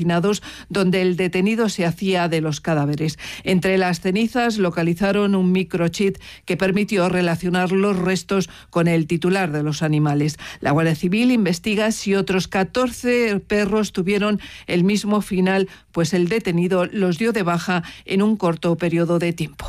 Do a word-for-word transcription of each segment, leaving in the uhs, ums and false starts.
hacinados donde el detenido se hacía de los cadáveres. Entre las cenizas localizaron un microchip que permitió relacionar los restos con el titular de los animales. La Guardia Civil investiga si otros catorce perros tuvieron el mismo final, pues el detenido los dio de baja en un corto periodo de tiempo.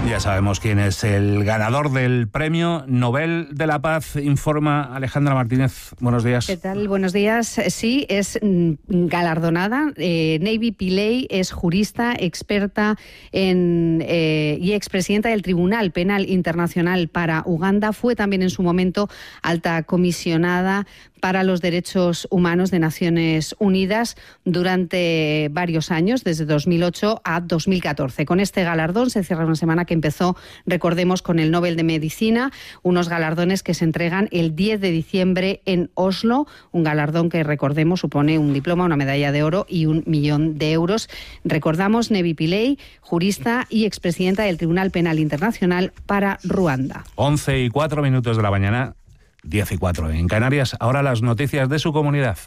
Ya sabemos quién es el ganador del Premio Nobel de la Paz, informa Alejandra Martínez. Buenos días. ¿Qué tal? Buenos días. Sí, es galardonada. Eh, Navy Pillay es jurista, experta en, eh, y expresidenta del Tribunal Penal Internacional para Uganda. Fue también en su momento alta comisionada para los Derechos Humanos de Naciones Unidas durante varios años, desde dos mil ocho a dos mil catorce. Con este galardón se cierra una semana que empezó, recordemos, con el Nobel de Medicina, unos galardones que se entregan el diez de diciembre en Oslo, un galardón que, recordemos, supone un diploma, una medalla de oro y un millón de euros. Recordamos, Navy Pillay, jurista y expresidenta del Tribunal Penal Internacional para Ruanda. once y cuatro minutos de la mañana. diez y cuatro en Canarias. Ahora las noticias de su comunidad.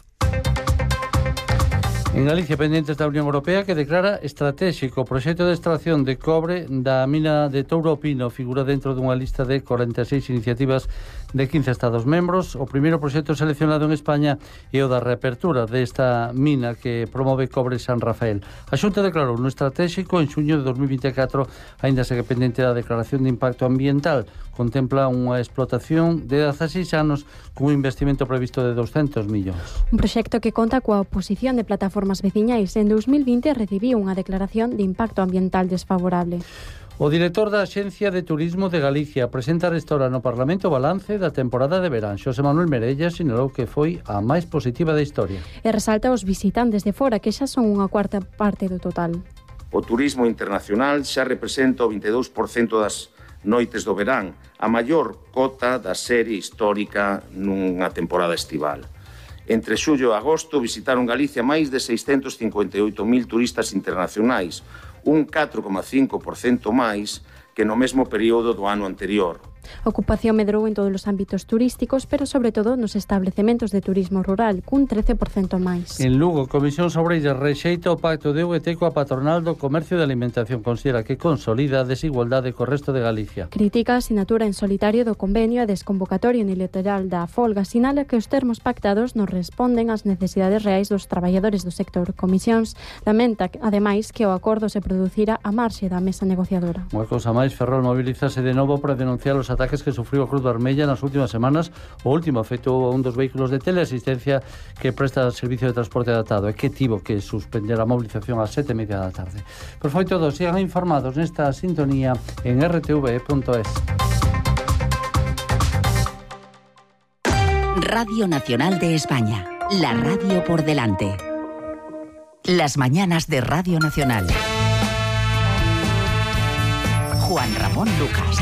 En Galicia, pendentes da Unión Europea, que declara estratégico o proxecto de extracción de cobre da mina de Touro Pino. Figura dentro dunha lista de cuarenta e seis iniciativas de quince Estados membros. O primeiro proxecto seleccionado en España é o da reapertura desta mina que promove Cobre San Rafael. A Xunta declarou no estratégico en xuño de dos mil vinte e catro, aínda segue pendente da declaración de impacto ambiental. Contempla unha explotación de dezaseis anos cun investimento previsto de douscentos millóns. Un proxecto que conta coa oposición de plataformas veciñais. En dos mil vinte recibiu unha declaración de impacto ambiental desfavorable. O director da Axencia de Turismo de Galicia presenta restaura no Parlamento o balance da temporada de verán. Xosé Manuel Merella sinalou que foi a máis positiva da historia. E resalta os visitantes de fora, que xa son unha cuarta parte do total. O turismo internacional xa representa o vinte e dous por cento das noites do verán, a maior cota da serie histórica nunha temporada estival. Entre xullo e agosto visitaron Galicia máis de seiscentos cincuenta e oito mil turistas internacionais, un catro coma cinco por cento máis que no mesmo período do ano anterior. A ocupación medrou en todos os ámbitos turísticos, pero sobre todo nos establecementos de turismo rural, cun trece por cento máis. En Lugo, Comisión Obreiras rexeita o pacto de U G T coa patronal do comercio de alimentación. Considera que consolida a desigualdade co resto de Galicia. Critica a asinatura en solitario do convenio e desconvocatoria unilateral da folga. Sinala que os termos pactados non responden ás necesidades reais dos traballadores do sector. Comisións lamenta, ademais, que o acordo se producira a marxe da mesa negociadora. Unha cousa máis, Ferrol mobilizase de novo para denunciar os ataques que sufriu a Cruz Vermella nas últimas semanas. O último afectou a un dos vehículos de teleasistencia que presta servicio de transporte adaptado e que tivo que suspender a movilización ás sete e media da tarde. Por foi todo, sigan informados nesta sintonía en r t v punto es. Radio Nacional de España, la radio por delante. Las mañanas de Radio Nacional. Juan Ramón Lucas.